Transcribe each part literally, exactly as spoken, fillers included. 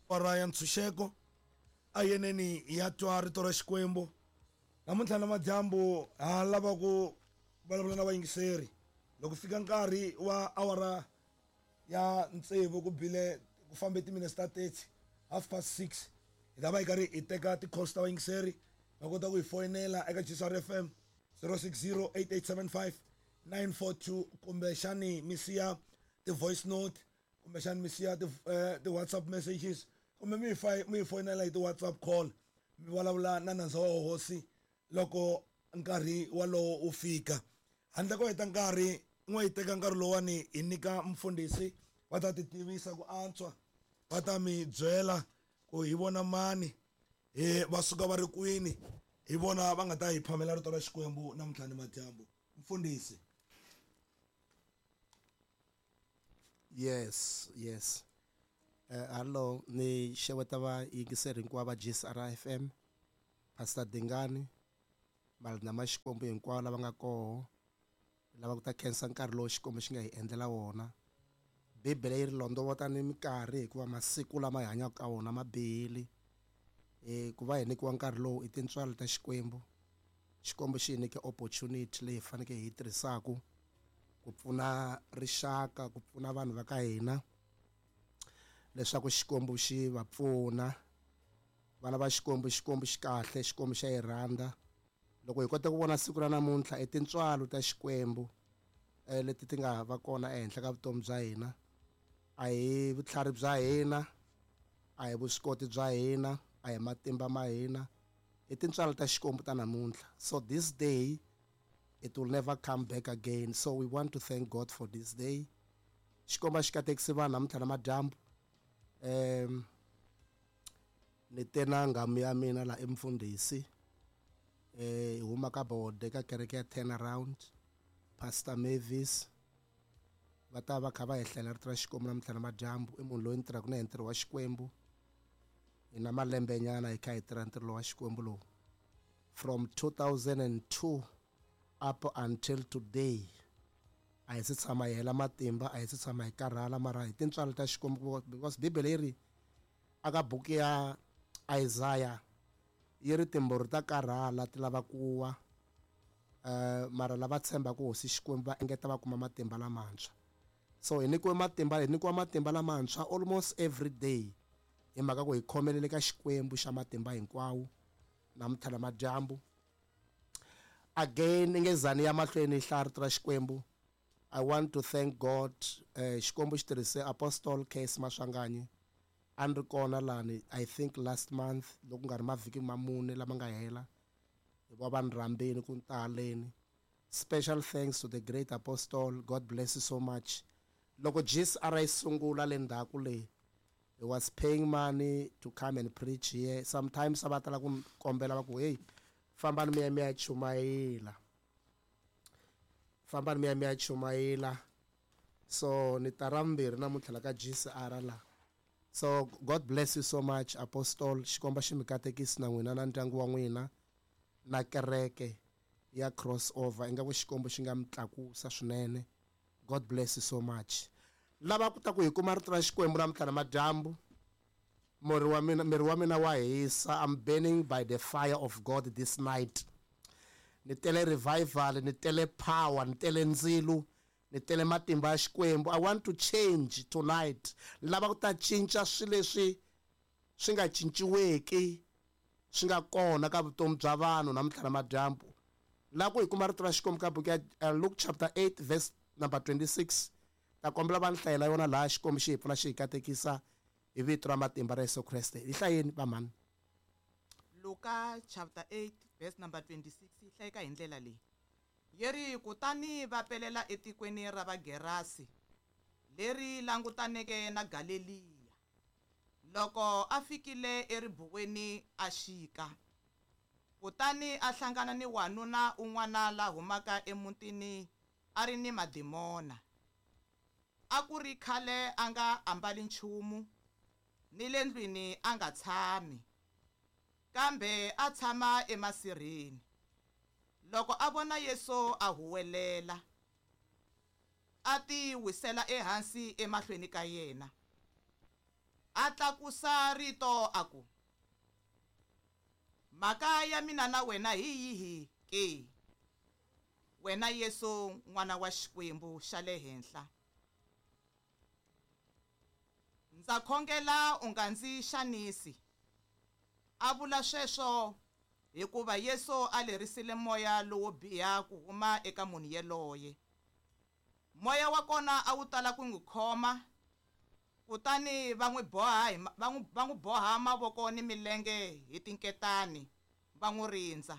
Awara ya ntshunxeko a yeneni ya twa rito ra Xikwembu. Namuntlha namadyambu ha lava ku vulavula na vayingiseri. Loko fika nkarhi wa awara ya tsevu ku bile ku fambe timinetse ta thirty, half past six, hi ta va hi karhi hi teka ti-calls ta vayingiseri. Va kota ku hi foyinela eka G S R F M zero six zero eight eight seven five nine four two, kumbexani mi siya ti-voice note, kumbexani mi siya ti, eh, ti-WhatsApp messages, kumbe mi hi mi hi foyinela hi ti-WhatsApp call, mi vulavula na nandza wa hosi loko nkarhi walowo wu fika. Handle ko heta nkarhi, n'we hi teka nkarhi lowani hi nyika mfundhisi, va ta ti tivisa ku antswa, va ta mi byela ku hi vona mani, hi va suka va ri kwini, hi vona va nga ta hi phamela rito ra Xikwembu namuntlha ni madyambu. Mfundhisi. Yes, yes. Uh, hello, ni xeweta va yingiseri hinkwavo va G S R F M, Pastor Dingani, malandza ma Xikwembu hinkwavo lava nga koho, lava ku ta khensa nkarhi lowu Xikwembu xi nga hi endlela wona. Bibele yi ri londovota ni minkarhi hikuva masiku lama hi hanyaka ka wona ma bihile. Eh, ku va hi nyikiwa nkarhi lowu i tintswalo ta Xikwembu. Xikwembu xi hi nyike opportunity leyi hi faneleke hi yi tirhisaka ku pfuna rixaka, ku pfuna vanhu va ka hina, leswaku Xikwembu xi va pfuna. Vana va Xikwembu, Xikwembu xi kahle, Xikwembu xa hi rhandza. Loko hi kota ku vona siku ra namuntlha i tintswalo ta Xikwembu, eh, leti ti nga va kona ehenhla ka vutomi bya hina. A hi vutlhari bya hina, a hi vuswikoti bya hina, a hi matimba ma hina, i tintswalo ta Xikwembu ta namuntlha. So this day it will never come back again. So we want to thank God for this day. Xikwembu xi katekise vanhu namuntlha na madyambu. Um, ni te na nghamu ya mina la emfundhisi, eh, huma ka bode ka kereke ya Turnaround, Pastor Mavis. Va ta va kha va hi hlela rito ra Xikwembu namuntlha na madyambu. I munhu loyi ni tirhaka na yena ntirho wa Xikwembu. Hi na malembe nyana hi kha hi tirha ntirho wa Xikwembu lowu from two thousand and two up until today. A hi se tshama hi hela matimba, a hi se tshama hi karhala, mara hi tintswalo ta Xikwembu, because Bibele yi ri aka buku ya Isaiah yi ri timbhuri ta karhala ti lava ku wa, eh, mara lava tshembaka hosi Xikwembu va engeta va kuma matimba lamantshwa. So hi nyikiwe matimba, hi nyikiwa matimba lamantshwa almost every day, hi mhaka ku hi khomelele ka Xikwembu xa matimba hinkwawo namuntlha na madyambu. Again, ngezani ya mahlweni hi hlaya rito ra Xikwembu. I want to thank God. Eh, Xikwembu xi tirhise Apostle K S Maswanganyi. A ni ri kona lani, I think last month, loko ku nga ri mavhiki ma mune lama nga hela, hi va va ni rhambeni ku ni taleni. Special thanks to the great apostle. God bless you so much. Loko G S R yi sungula le ndzhaku le, he was paying money to come and preach here. Sometimes a va tala ku ni kombela va ku, hey, fambani mi ya mi ya chumayela. Fambani mi ya mi ya chumayela. So ni ta ra vumbirhi namuntlha la ka G S R la. So God bless you so much, Apostle. Xikwembu xi mi katekisi na n'wina na ndyangu wa n'wina na kereke ya Crossover. Ingaku Xikwembu xi nga mi tlakusa swinene. God bless you so much. Lava ku ta ku hi kuma rito ra Xikwembu namuntlha na madyambu. Miri wa mina, miri wa mina wa hisa. I'm burning by the fire of God this night. Ni tele revival, ni tele power, ni tele ndzilo, ni tele matimba ya Xikwembu. I want to change tonight. Lava ku ta cinca swilo leswi swi nga cinciweki, swi nga kona ka vutomi bya vanhu namuntlha na madyambu. La ku hi kuma rito ra Xikwembu ka buku ya, eh, Luke chapter eight verse number twenty-six. Ta kombela va ni hlayela yona laha Xikwembu xi hi pfuna xi hi katekisa hi vito ra matimba ra Yesu Kreste. Hi hlayeni va mhani. Luka chapter eight verse number twenty-six yi hlayeka hi ndlela leyi. Yi ri, kutani va pelela etikweni ra Vagerasi leri langutaneke na Galeliya. Loko a fikile eribuweni a xika, kutani a hlangana ni wanuna un'wana la humaka emutini a ri ni madimona. A ku ri khale a nga ambali nchumu, ni le ndlwini a nga tshami, kambe a tshama emasirheni. Loko a vona Yesu a huwelela, a ti wisela ehansi emahlweni ka yena. A tlakusa rito a ku, mhaka ya mina na wena hi yihi ke, wena Yesu n'wana wa Xikwembu xa le henhla? Ndza khongela u nga ndzi xanisi. A vula sweswo hikuva Yesu a lerisile moya lowo biha ku huma eka munhu yaloye. Moya wa kona a wu tala ku n'wi khoma, kutani va n'wi boha hi va n'wi va n'wi boha mavoko ni milenge hi tinketani va n'wi rindza.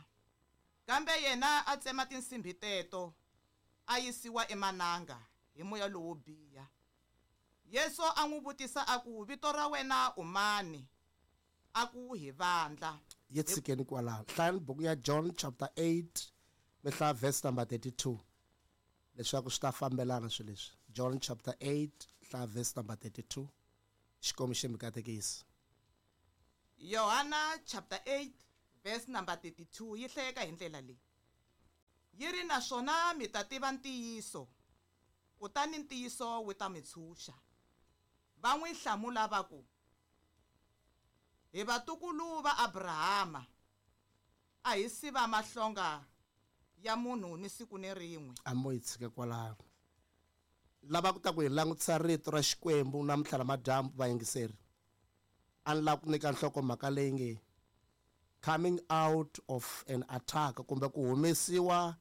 Kambe yena a tsema tinsimbhi teto, a yisiwa emananga hi moya lowo biha. Yesu a n'wi vutisa a ku, vito ra wena u mani? A ku, hi Vandla. Yi tshikeni kwalaho. Hlayani buku ya John chapter eight, mi hlaya verse number thirty-two, leswaku swi ta fambelana swilo leswi. John chapter eight, hlaya verse number thirty-two. Xikwembu xi mi katekisa. Yohana chapter eight verse number thirty-two yi hlayeka hi ndlela leyi. Yi ri, naswona mi ta tiva ntiyiso, kutani ntiyiso wu ta mi tshunxa. Va n'wi hlamula va ku, hi vatukulu va Abrahama, a hi si va mahlonga ya munhu ni siku ni rin'we. A mo yi tshika kwalaho. Lava ku ta ku hi langutisa rito ra Xikwembu namuntlha namadyambu, vayingiseri, a ni lava ku nyika nhlokomhaka leyi nge coming out of an attack, kumbe ku humesiwa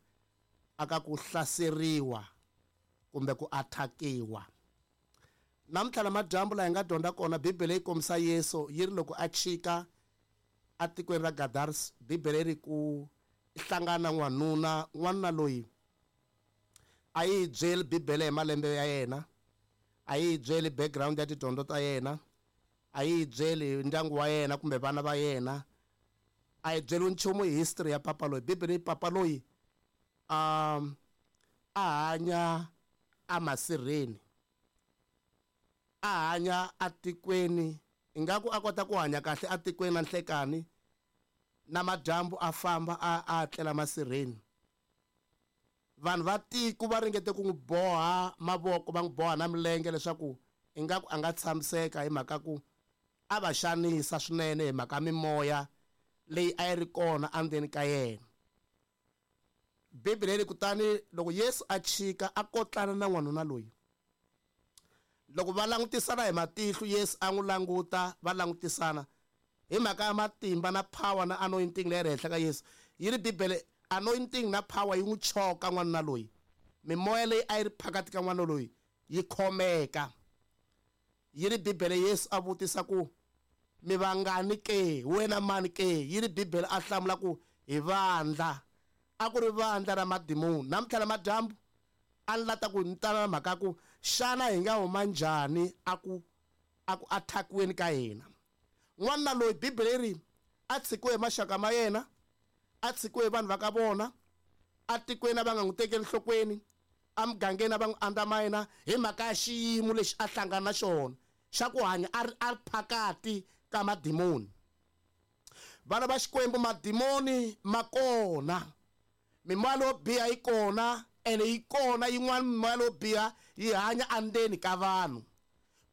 aka ku hlaseriwa kumbe ku attackiwa. Namuntlha namadyambu laha hi nga dyondza kona, Bibele yi kombisa Yesu yi ri loko a chika atikweni ra Gadaris, Bibele yi ri ku hlangana n'wanuna, n'wanuna loyi a yi byeli Bibele hi malembe ya yena, a yi byeli background ya tidyondzo ta yena, a yi byeli ndyangu wa yena kumbe vana va yena, a yi byeli nchumu hi history ya papa loyi. Bibele yi papa loyi um a hanya emasirheni, a hanya atikweni, ingaku a kota ku hanya kahle atikweni na nhlekani, na madyambu a famba a a tlela masirheni. Vanhu va tiko va ringete ku n'wi boha mavoko, va n'wi boha na milenge leswaku ingaku a nga tshamiseka, hi mhaka ku a va xanisa swinene hi mhaka mimoya leyi a yi ri kona endzeni ka yena. Bibele yi kutani loko Yesu a chika a kotlana na n'wanuna loyi, loko va langutisana hi matihlo, Yesu a n'wi languta, va langutisana hi mhaka ya matimba na power na anointing leyi ri henhla ka Yesu. Yi ri Bibele anointing na power yi n'wi choka n'wanuna loyi, mimoya leyi a yi ri phakati ka n'wana loyi yi khomeka. Yi ri Bibele Yesu a vutisa ku, mi vangani ke, wena mani ke? Yi ri Bibele a hlamula ku, hi vandla. A ku ri vandla ra madimoni. Namuntlha namadyambu a ni lata ku ni tala na mhaka ku xana hi nga huma njhani a ku a ku attackiweni ka hina. N'wanuna loyi Bibele yi ri a tshikiwe hi maxaka ma yena, a tshikiwe hi vanhu va ka vona, atikweni a va nga n'wi tekeli enhlokweni, emugangeni a va n'wi andzamayina hi mhaka ya xiyimo lexi a hlangana na xona xa ku hanya a ri a ri phakati ka madimoni. Vana va Xikwembu, madimoni ma kona, mimoya leyo biha yi kona, ene yi kona yin'wana mimoya leyo biha yi hanya endzeni ka vanhu.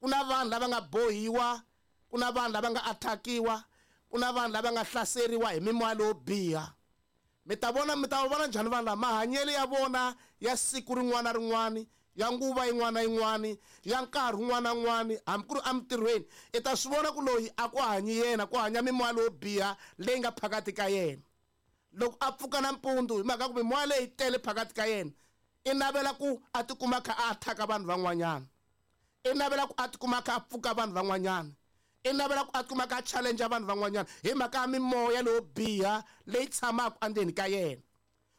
Ku na vanhu lava nga bohiwa, ku na vanhu lava nga attackiwa, ku na vanhu lava nga hlaseriwa hi mimoya leyo biha. Mi ta vona, mi ta vona njhani vanhu lava? Mahanyelo ya vona ya siku rin'wana na rin'wana, ya nguva yin'wana na yin'wana, ya nkarhi wun'wana na wun'wana, hambi ku ri emintirhweni, i ta swi vona ku loyi a ku hanyi yena, ku hanya mimoya leyo biha leyi nga phakati ka yena. Loko a pfuka nampundzu hi mhaka ku mimoya leyi tele phakati ka yena, i navela ku a tikuma kha a attack vanhu van'wanyana, i navela ku a tikuma kha a pfuka vanhu van'wanyana, i navela ku a tikuma kha a challenge vanhu van'wanyana hi mhaka ya mimoya leyo biha leyi tshamaka endzeni ka yena.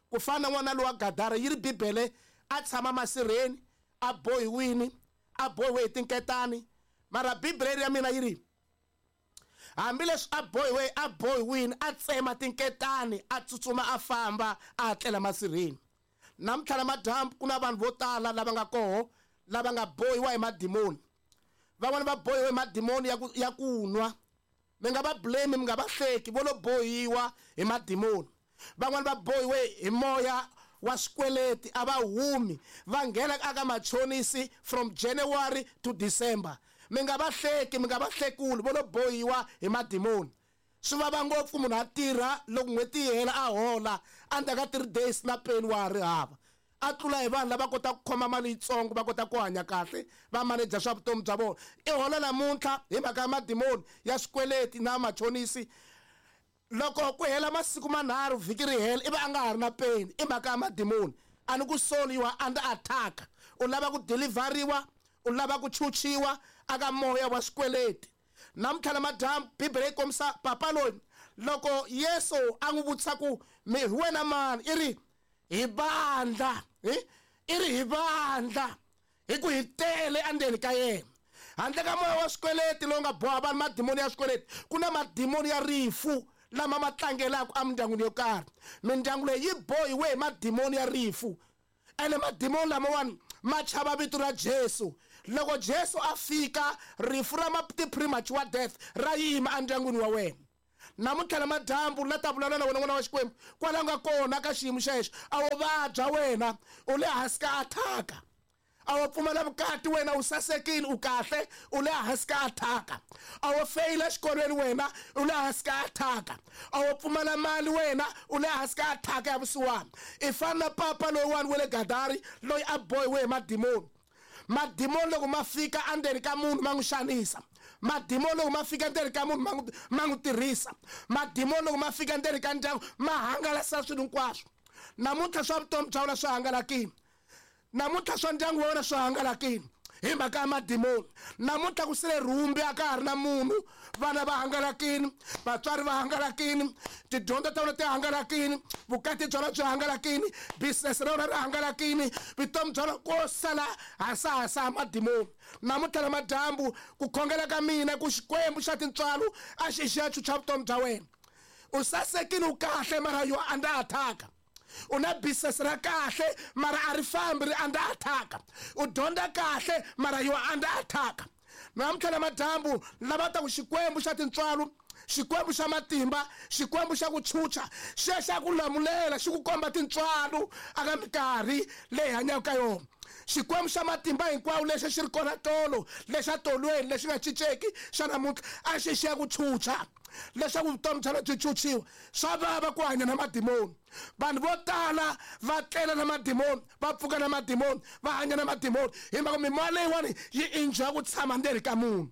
Ku fana na n'wana lowa Gadara, yi ri Bibele a tshama masirheni, a bohiwini, a bohiwe hi tinketani, mara Bibele ya mina yi ri hambileswi a bohiwe, a bohiwini, a tsema tinketani, a tsutsuma a famba a tlela masirheni. Namuntlha namadyambu ku na vanhu vo tala lava nga koho lava nga bohiwa hi madimoni. Van'wani va bohiwe hi madimoni ya ku ya ku nwa. Mi nga va blame, mi nga va hleki, vo lo bohiwa hi madimoni. Van'wani va bohiwe hi moya wa swikweleti, a va humi, va nghena aka machonisi from January to December. Mi nga va hleki, mi nga va hlekuli, vo lo bohiwa hi madimoni. Swi vava ngopfu munhu a tirha loko n'hweti yi hela a hola endzhaku ka three days na peni wa ha ri hava. A tlula hi vanhu lava kotaka ku khoma mali yitsongo va kota ku hanya kahle va maneja swa vutomi bya vona. I hola namuntlha hi mhaka ya madimoni ya swikweleti na machonisi. Loko ku hela masiku manharhu vhiki ri hela ivi a nga ha ri na peni i mhaka ya madimoni. A ni ku soli, you are under attack. U lava ku deliveriwa, u lava ku chuchiwa aka moya wa swikweleti. Namuntlha namadyambu Bibele yi kombisa papa loyi loko Yesu a n'wi vutisa ku mi hi wena mani, i ri hi vandla, i ri hi vandla hi ku hi tele endzeni ka yena. Handle ka moya wa swikweleti lowu nga boha vanhu madimoni ya swikweleti, ku na madimoni ya rifu lama ma tlangelaka emindyangwini yo karhi. Mindyangu leyi yi bohiwe hi madimoni ya rifu, ene madimoni lamawani ma chava vito ra Jesu. Loko Jesu a fika, rifu ra ti-premature death ra yima endyangwini wa wena. Namuntlha namadyambu la ta vulavula na wena n'wana wa Xikwembu kwala nga kona ka xiyimo xexo, a wo vabya wena, u le hansi ka attack. A wo pfumala vukati wena, u sasekile, u kahle, u le hansi ka attack. A wo feyila exikolweni wena, u le hansi ka attack. A wo pfumala mali wena, u le hansi ka attack ya vusiwana. I fana na papa loyiwani wa le Gadari loyi a bohiwe hi madimoni. Madimoni loko ma fika endzeni ka munhu ma n'wi xanisa. Madimoni loko ma fika endzeni ka munhu ma n'wi ma n'wi tirhisa. Madimoni loko ma fika endzeni ka ndyangu ma hangalasa swilo hinkwaswo. Namuntlha swa vutomi bya wena swi hangalakile. Namuntlha swa ndyangu wa wena swi hangalakile hi mhaka ya madimoni. Namuntlha ku sele rhumbi a ka ha ri na munhu, vana va hangalakile, vatswari va hangalakile, tidyondzo ta wena ti hangalakile, vukati bya wena byi hangalakile, business ra wena ri hangalakile, vutomi bya wena ko sala hasahasa ya madimoni. Namuntlha namadyambu ku khongela ka mina ku Xikwembu xa tintswalo a xi xi ya chucha vutomi bya wena. U sasekile, u kahle, mara you are under attack. U na business ra kahle mara a ri fambi, ri under attack. U dyondza kahle mara you are under attack. Namuntlha namadyambu lava ta ku Xikwembu xa tintswalo, Xikwembu xa matimba, Xikwembu xa ku chucha, xi ya xa ku lamulela, xi ku komba tintswalo aka minkarhi leyi hanyaka ka yona. Xikwembu xa matimba hinkwawo lexi xi ri kona tolo, lexa tolweni lexi nga cinceki xa namuntlha a xi xi ya ku chucha leswaku vutomi bya wena byi chuchiwa. Swa vava ku hanya na madimoni. Vanhu vo tala va tlela na madimoni, va pfuka na madimoni, va hanya na madimoni hi mhaka mimoya leyiwani yi enjoya ku tshama ndzeni ka munhu.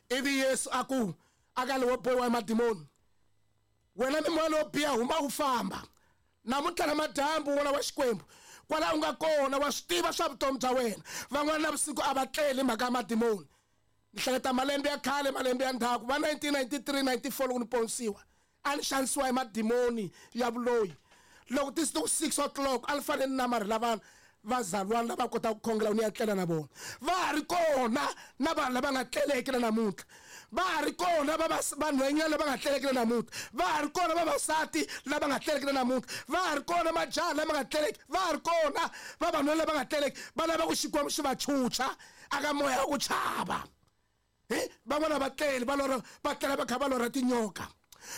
Ivi Yesu a ku aka lowo bohiwa hi madimoni, wena mimoya lowo biha huma u famba. Namuntlha namadyambu n'wana wa Xikwembu kwala u nga kona wa swi tiva swa vutomi bya wena. Van'wana navusiku a va tleli mhaka ya madimoni. Ni hleketa malembe ya khale, malembe ya ndzhaku va nineteen ninety-three ninety-four loko ni ponisiwa a ni xanisiwa hi madimoni ya vuloyi. Loko ti siku six o'clock a ni fanele ni namarhela vanhu vazalwana lava kotaka ku khongela ni ya tlela na vona. Va ha ri kona na vanhu lava nga tleleki na namuntlha. Va ha ri kona vanhwanyana lava nga tleleki na namuntlha. Va ha ri kona vavasati lava nga tleleki na namuntlha. Va ha ri kona majaha lama nga tleleki. Va ha ri kona vavanuna lava nga tleleki. Va lava ku Xikwembu xi va chucha aka moya wa ku chava. Van'wana va tlele va lorha, va tlela va kha va lorha tinyoka,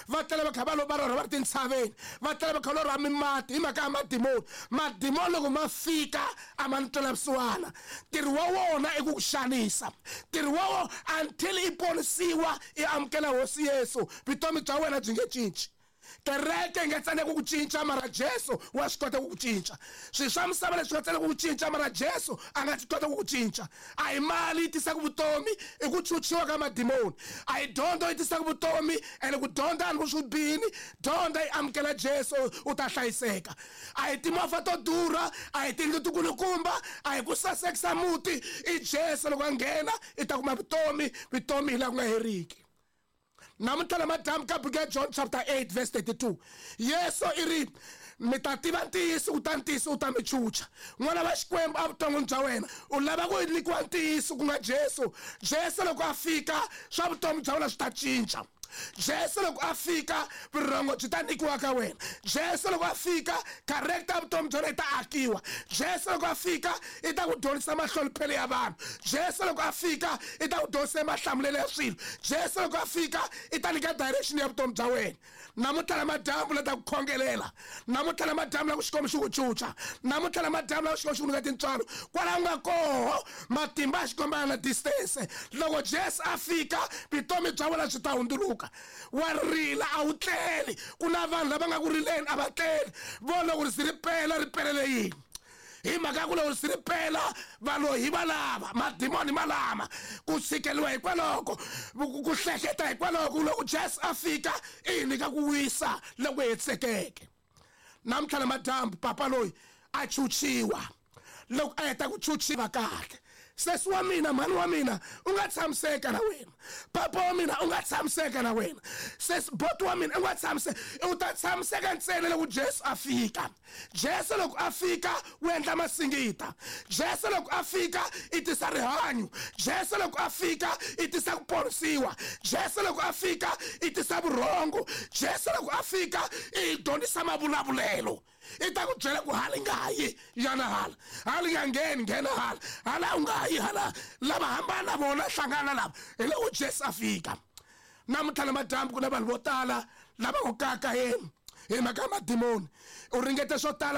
va tlela va kha va va lorha va ri tintshaveni, va tlela va kha va lorha mimati hi mhaka ya madimoni. Madimoni loko ma fika a ma ni twela vusiwana. Ntirho wa wona i ku ku xanisa. Ntirho wa wona until i ponisiwa i amukela Hosi Yesu, vutomi bya wena byi nge cinci. Kereke yi nga tsandzeka ku cinca mara Jesu wa swi kota ku ku cinca. Swilo swa misava leswi nga tsandzeka ku cinca mara Jesu a nga swi kota ku ku cinca. A hi mali yi tisaka vutomi, i ku chuchiwa ka madimoni. A hi dyondzo yi tisaka vutomi, ene ku dyondza a ni ku swi bihini, dyondza yi amukela Jesu u ta hlayiseka. A hi timovha to durha, a hi tiyindlu tikulukumba, a hi ku sasekisa muti, i Jesu loko a nghena i ta kuma vutomi, vutomi hi laha ku nga heriki. Namuntlha namadyambu ka buku ya John chapter eight verse thirty-two, Yesu i ri mi ta tiva ntiyiso kutani ntiyiso wu ta mi chucha. N'wana wa Xikwembu evuton'wini bya wena u lava ku nyikiwa ntiyiso ku nga Jesu. Jesu loko a fika swa vutomi bya wena swi ta cinca. Jesu loko a fika vurhongo byi ta nyikiwa ka wena. Jesu loko a fika character vutomi bya wena yi ta akiwa. Jesu loko a fika i ta ku dyondzisa mahloniphelo ya vanhu. Jesu loko a fika i ta ku dyondzisa mahlamulelo ya swilo. Jesu loko a fika i ta nyika direction ya vutomi bya wena. Namuntlha namadyambu la ta ku khongelela, namuntlha namadyambu la ku Xikwembu xi ku cuca, namuntlha namadyambu la ku Xikwembu xi ku nyika tintswalo. Kwala u nga koho matimba ya Xikwembu ya na distance. Loko Jesu a fika vutomi bya wena byi ta hundzuluka. Wa rila a wu tleli. Ku na vanhu lava nga ku rileni a va tleli. Vo loko ri ri pela ri pelele yini? Hi mhaka ku loko ri pela valoyi hi valava, madimoni ma lama, ku tshikeliwa hikwaloko, ku hleketa hikwaloko. Loko Jesu a fika i hi nyika ku wisa loko hetisekeke. Namuntlha namadyambu papa loyi a chuchiwa. Loko a heta ku chuchiwa kahle, sesi wa mina, mhani wa mina, u nga tshamiseka na wena. Papa wa mina, u nga tshamiseka na wena. Sesi boti wa mina, u nga tshamiseka. U ta tshamiseka ntsena loko Jesu a fika. Jesu loko a fika u endla masingita. Jesu loko a fika i tisa rihanyo. Jesu loko a fika i tisa ku ponisiwa. Jesu loko a fika i tisa vurhongo. Jesu loko a fika i dyondzisa mavulavulelo. I ta ku byela ku hala nga yi yana hala, hala nga ngheni nghena hala, hala u nga yi hala. Lava hambana vona hlangana lava. Hi loko Jesu a fika. Namuntlha namadyambu ku na vanhu vo tala lava ku kaka yena hi mhaka ya madimoni. U ringete swo tala.